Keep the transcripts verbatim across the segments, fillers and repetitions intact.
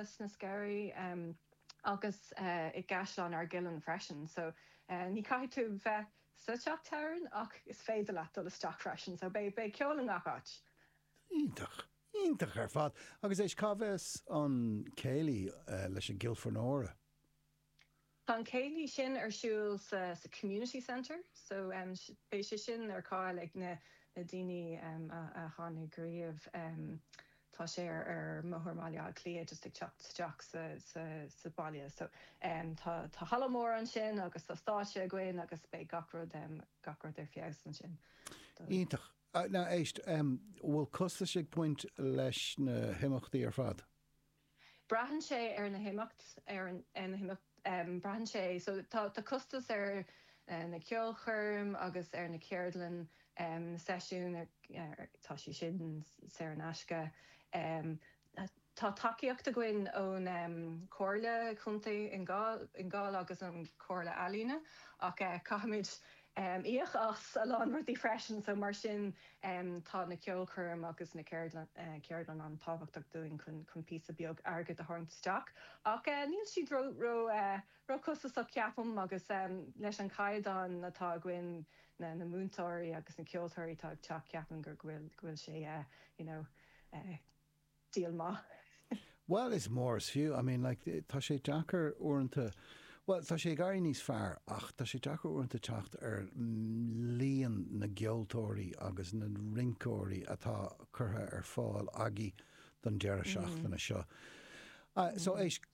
sna Sceirí um, agus uh, i gCaisleán Ardgillan freisin, so uh, ní caithfidh tú bheith sa teach tábhairne ach is féidir leat dul isteach freisin, so beidh beidh ceol i ngach áit. Iontach. Iontach ar fad. Agus éist cá bheas an céilí uh, leis an gCillfearnóra. Tá an céilí sin ar siúl sa, sa community centre, so um, beidh sé sin ar fáil ag na, na daoine um, a, a tháinig riamh um, tá sé ar ar Bhóthar Bhaile Átha Cliath just ag teacht isteach sa, sa, sa baile. So um, tá tá halla mór ansin agus tá stáitse againn agus beidh gach rud um, gach rud ar feabhas ansin. Iontach. Uh, now éist, um, bhfuil costas ag baint leis na himeachtaí ar fad? Braitheann sé ar na himeacht ar an ar na himeacht um, braitheann sé so tá tá costas ar uh, na ceolchoirm agus ar na ceardlann um, na seisiún ar, ar, tá sé sin saor in aisce. Um, Tá tacaíocht againn ón um, Comhairle Contae Fhine Gall agus an Comhairle Ealaíne ach uh, caithfimid um, íoc as a lán rudaí freisin, so mar sin um, tá na ceolchoirm agus na ceardlann uh, ceardlann an-tábhachtach dúinn chun chun píosa beag airgead a tharraingt isteach. Ach uh, níl siad ró ró uh, ró costasach ceapaim agus um, leis an caighdeán atá againn na, na múinteoirí agus na ceoltóirí tá ag teacht ceapaim gur bhfuil bhfuil sé uh, you know, uh, díol maith. Well, is mór is fiú. I mean, like, tá sé deacair uaireanta Well, tá sé ag éirí níos fearr ach tá sé deacair uaireanta teacht ar líon na gceoltóirí agus na rinceoirí atá curtha ar fáil agaibh don deireadh seachtaine seo. Uh, so éist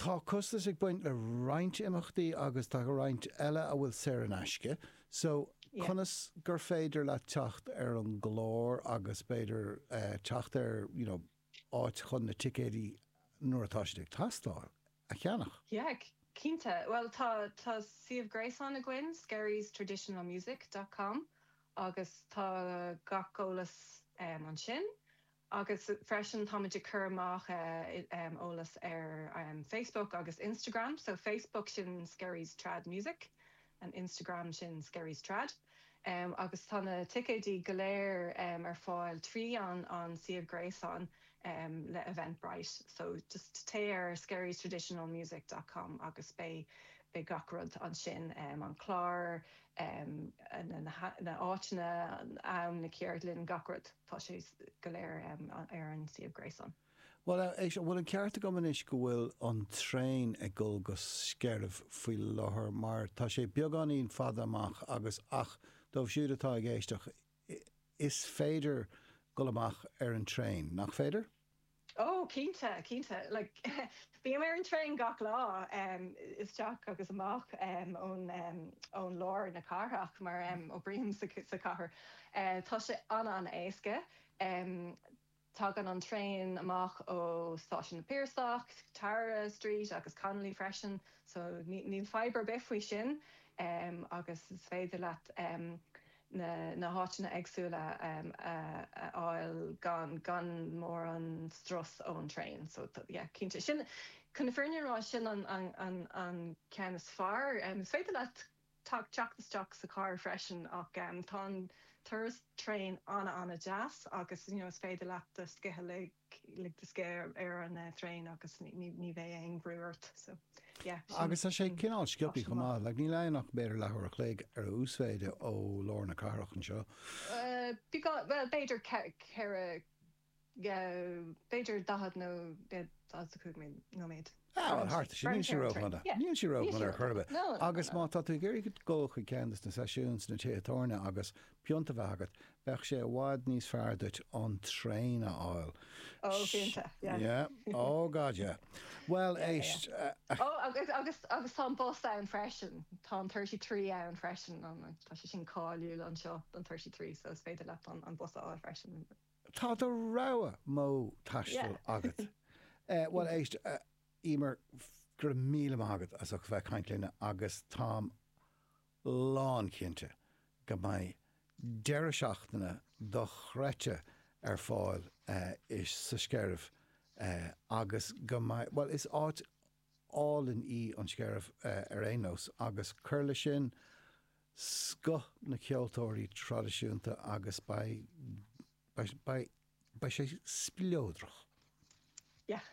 tá costas ag baint le roinnt imeachtaí agus tá roinnt eile a bhfuil saor in aisce, so Yeah. conas gur féidir le teacht ar an gclár agus b'fhéidir uh, teacht ar you know, áit chun na ticéidí nuair atá siad ag teastáil a cheannach. Yeah, cinnte. Well tá tá suíomh gréasáin againn skerriestraditionalmusic.com agus tá gach eolas um, ansin. Agus freisin táimid ag cur amach uh, um, eolas ar um, Facebook agus Instagram, so Facebook sin Skerries Trad Music an Instagram sin Skerries Trad. Um, agus tá na ticéidí go léir um, ar fáil trí an an suíomh gréasáin um, le Eventbrite. So just téigh ar skerriestraditionalmusic.com agus beidh beidh gach rud ansin um, an clár um, na, na, na áiteanna am na ceardlann gach rud tá sé go léir um, ar an suíomh gréasáin. Well éist bhfuil an ceart agam anois go bhfuil an traein ag dul go Sceirimh faoi láthair mar tá sé beagáinín fada amach agus ach dóibh siúd atá ag éisteacht is féidir dul amach ar an traein, nach féidir? Oh cinnte cinnte like bím ar an traein gach lá um, isteach agus amach um, ón um, ón lár na cathrach mar um, oibrím sa, sa cathair. Uh, tá sé an an-éasca. Um, Tagann an traein amach ó Stáisiún na Piarsach, Tara Street agus Connolly freisin, so níl fadhb ar bith faoi sin um, agus is féidir leat um, na, na háiteanna éagsúla um, a, a fháil gan gan mórán strus ón traein so yeah, cinnte sin chun na fírinne rá sin an, an, an, an ceann is fearr um, is féidir leat teacht isteach sa car freisin ach um, tá an turas traein an an-deas agus you know, is féidir leat do scíth lig lig do scíth ar an uh, traein agus ní ní bheidh aon bhrú ort so yeah, Agus tá sé cineál sciobtha chomh maith, le níl aon ach b'fhéidir leathuair a chloig ar a uasmhéid ó lár na cathrach anseo. Uh, well b'fhéidir ceithre b'fhéidir daichead nó cúig nóiméad. Ah, thart sin níl sé rófhada. Níl sé rófhada ar chor ar bith. Agus má tá tú ag iarraidh dul chuig ceann de na seisiúin sna tithe tábhairne agus pionta bheith agat, bheadh sé i bhfad níos fearr duit an traein a fháil. Ó cinnte. Yeah. Oh God, yeah. Well éist. Oh agus agus agus tá bus ann freisin Tá an thirty three ann freisin tá sé sin cáiliúil anseo an thirty three so is féidir leat an an bus a fháil freisin. Tá do rogha modh taistil agat. Uh, well éist uh, Emer go raibh míle maith agat as ucht bheith ag caint linn agus táim lánchinnte go mbeidh deireadh seachtaine dochreidte ar fáil uh, is sa Sceirimh uh, agus go mbeidh well is áit álainn í an Sceirimh uh, ar aon nós agus cur le sin scoth na ceoltóirí traidisiúnta agus beidh beidh beidh sé spleodrach. Yeah.